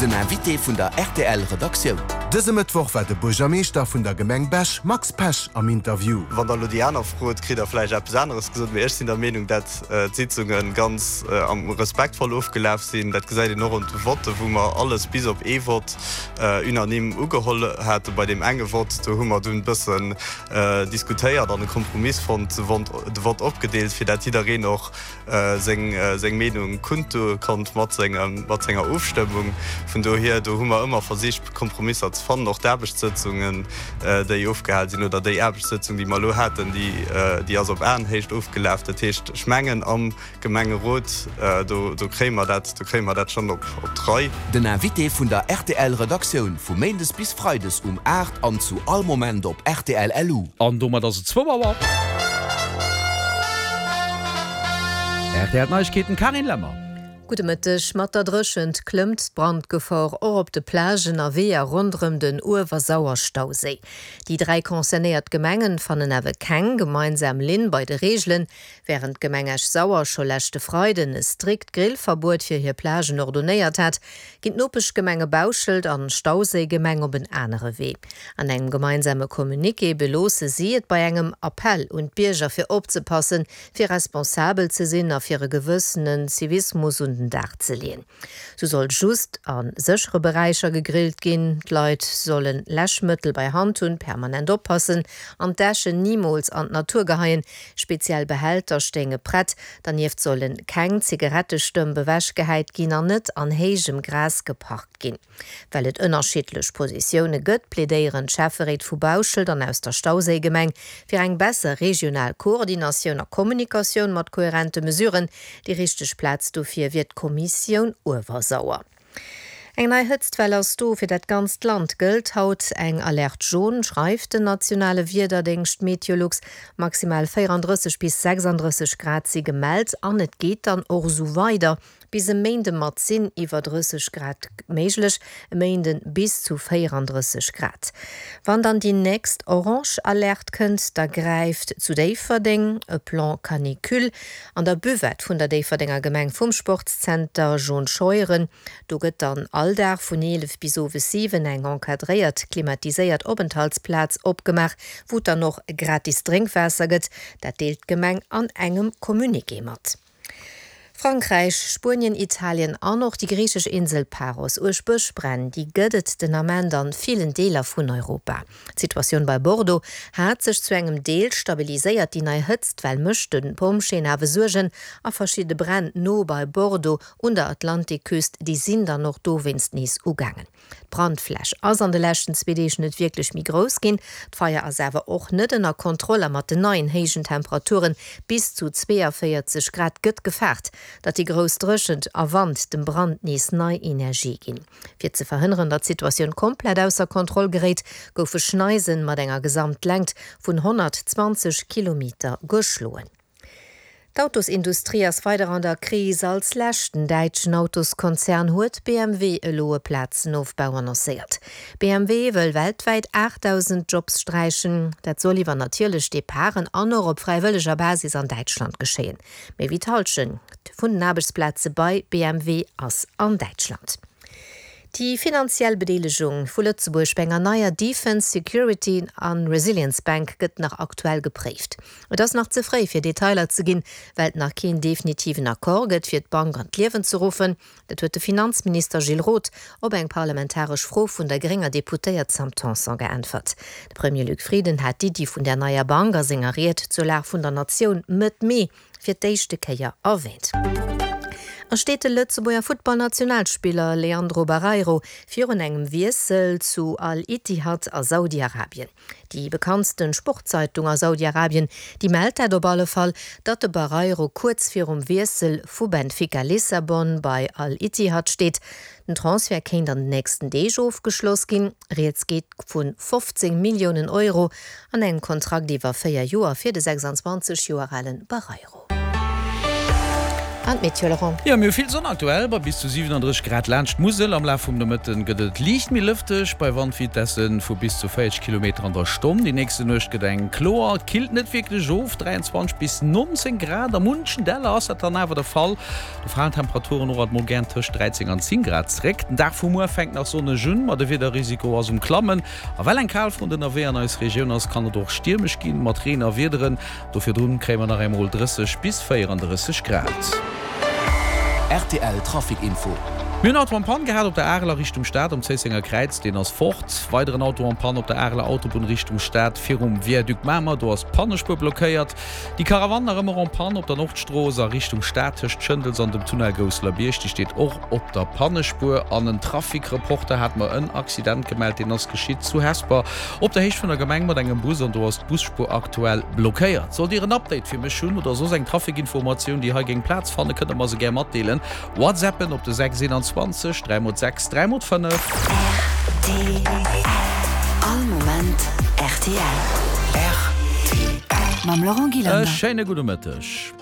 Den Invité vun der rtl Redaktioun. Dëse Mëttwoch war de Buergermeeschter vun der Gemeng Bech, Max Pesch, am Interview. Wann der elo déi aner frot, kritt der vläicht eppes aneres gesot, mee ech sinn der Meenung, dat d'Sitzunge ganz respektvoll ofgelaf sinn. Dat gesäit een och un de Votte, wou mer alles bis op ee Vott unanime ugeholl haten. Bei deem enge Vott, do hu mer dunn e bëssen diskutéiert an e Kompromiss fonnt, de Vott opgedeelt, fir dat jiddereen och seng Meenung kundtue konnt mat senger Ofstëmmung. Vun dohier, do hu mer ëmmer versicht, Kompromisser ze fannen. Och d'Aarbechtssëtzungen, déi ofgehal sinn, oder déi Aarbechtssëtzung, déi mer elo haten, déi ass op Aenhéicht ofgelaf. Dat heescht, ech mengen, am Gemengerot, do kréie mer dat, do kréie mer dat schonn op d'Rei. Den Invité vun der rtl Redaktioun vu Méindes bis Freides um 8 an zu all Moment op rtl LU. An domat ass et zwou Auer. Rtl Neiegkeeten, Carine Lemmer. Gudde Mëtteg. Mat der Dréchent klëmmt d'Brandgefor och op de Plagen a Weeër ronderëm den Uewersauer-Stauséi. Déi 3 concernéiert Gemengen fannen awer keng gemeinsam Linn bei de Reegelen. Wärend d'Gemeng Esch-Sauer scho leschte Freiden e strikt Grillverbuet fir hir Plagen ordonéiert hat, ginn d'Nopeschgemenge Bauschelt an Stauséigemeng op en anere Wee. An engem gemeinsame Communiqué beloosse si et bei engem Appell un d'Bierger fir opzepassen, fir responsabel ze sinn a fir e gewëssenen Zivismus un den Dag ze leeën. Sou soll just a séchere Beräicher gegrillt ginn, d'Leit solle Läschmëttel bei Hand hunn, permanent oppassen an d'Äschen nimools an d'Natur geheien. Speziell Behälter stéinge prett. Dernieft solle keng Zigarettestëmp ewechgehäit ginn an net an héijem Gras geparkt ginn. Well et ënnerschiddlech Positioune gëtt, plädéieren d'Schäfferéit vu Bauschelt an aus der Stauséigemeng fir eng besser regional Koordinatioun a Kommunikatioun mat koherente Mesuren. Déi richteg Plaz dofir wier d'Kommissioun Uewersauer. Eng nei Hëtztwell ass do. Fir dat ganzt Land gëllt haut eng Alerte jaune, schreift den nationale Wiederdéngscht Meteolux. Maximal 34 bis 36 Grad si gemellt an et geet dann och esou weider. Bis e Méinde mat sinn iwwer 30 Grad méiglech, e Méinde bis zu 34 Grad. Wann dann déi nächst orange Alerte kënnt, da gräift zu Déifferdeng e Plan canicule an der Buvette vun der Déifferdenger Gemeng vum Sportszenter John Scheuren. Do gëtt dann all Dag vun 11 bis owes 7 eng encadréiert, klimatiséiert Openthaltsplaz opgemaach, wou et dann och gratis Drénkwaasser gëtt. Dat deelt d'Gemeng an engem Communiqué mat. Frankräich, Spuenien, Italien an och déi griichesch Insel Paros. Uerg Bëschbränn, déi gëtt et den Ament an villen Deeler vun Europa. D'Situatioun bei Bordeaux hat sech zu engem Deel stabiliséiert. Déi nei Hëtztwell mécht de Pompjeeën awer Suergen a verschidde Bränn no bei Bordeaux un der Atlantikküst, déi sinn dann och dowéinst nees ugaangen. D'Brandfläch ass an de leschten zwee Deeg net wierklech méi grouss ginn. D'Feier ass awer och net ënner Kontroll a mat den neien héijen Temperature bis zu 42 Grad gëtt gefaart, datt déi grouss Dréchent a Wand dem Brand nees nei Energie ginn. Fir ze verhënneren, datt d'Situatioun komplett ausser Kontroll geréit, goufe Schneisen mat enger Gesamtlängt vun 120 Kilometer geschloen. D'Autosindustrie ass weider an der Kris. Als leschten däitschen Autoskonzern huet BMW elo e Plazenofbau annoncéiert. BMW wëll weltwäit 8.000 Jobs sträichen. Dat soll iwwer natierlech Departen an och op fräiwëlleger Basis an Däitschland geschéien. Méi wéi d'Hallschent vun den Aarbechtsplaze bei BMW ass an Däitschland. Déi finanziell Bedeelegung vu Lëtzebuerg bei enger neier Defence, Security an Resilience Bank gëtt nach aktuell gepréift. Et ass nach ze fréi fir Detailer ze ginn, well et nach keen definitiven Accord gëtt fir d'Bank an d'Liewen ze ruffen. Dat huet de Finanzminister Gilles Roth op eng parlamentaresch Fro vun der grénger Deputéiert Sam Tanson geäntwert. De Premier Luc Frieden hat d'Iddi vun där neier Bank a senger Ried zur Lag vun der Natioun Mëtt Mee fir d'éischte Kéier erwäänt. A steet de Lëtzebuerger Futtballnationalspiller Leandro Barreiro virun engem Wiessel zu Al-Ittihad a Saudi-Arabien. Déi bekanntsten Sportzeitung a Saudi-Arabien, déi mellt dat op alle Fall, datt de Barreiro kuerz virum Wiessel vu Benfica Lissabon bei Al-Ittihad steet. Den Transfert kéint an den nächsten Deeg ofgeschloss ginn. Rieds geet vu 15 Milliounen Euro an engem Kontrakt iwwer 4 Joer fir de 26 Joer ale Barreiro. An d'Meteo, Laurent? Jo, mir hu vill Sonn aktuell, bei bis zu 37 Grad laanscht d'Musel. Am Laf vum Nomëtten gëtt et liicht méi lëfteg, bei Wandvitesse vu bis zu 40 Kilometer an der Stonn. Déi nächste Nuecht gëtt eng kloer, et killt net wierklech of, 23 bis 19 Grad. A munchen Däller ass dat dann awer de Fall, do falen d'Temperaturen och alt mol gären tëscht 13 an 10 Grad zréck. Den Dag vu muer fänkt nach sonneg un, ma de Wiederrisiko ass um Klammen. A well eng Kalfront ënnerwee an eis Regioun ass, kann et och stiermesch ginn, mat Reen a Wiederen. Do virdrun kréie mer nach eemol 30 bis 34 Grad. Rtl Trafic Info. Mir hunn Auto en Panne gehat op der Areler Richtung Stad um Zéissenger Kräiz, deen ass fort. Weideren Auto en Panne op der Areler Autobunn Richtung Stad virum Viaduc Mamer, do ass d'Pannespuer blockéiert. Déi Caravane nach ëmmer en Panne op der Nordstrooss a Richtung Stad tëscht Schëndels an dem Tunnel Gousselerbierg, déi steet och op der Pannespuer. An en Trafic-Reporter hat mer en Accident gemellt, deen ass geschitt zu Hesper op der Héicht vun der Gemeng mat engem Bus an do ass d'Busspuer aktuell blockéiert. Sollt Dir en Update fir mech hunn oder soss eng Traficinformatioun, déi hei géing Plaz fannen, kënnt der mer se gär matdeelen. Whatsappen op de 6 21 3 x 6 3 x 5. Rtl, All Moment rtl. Rtl. Mam Laurent E Gillander. schéine gudde Mëtteg.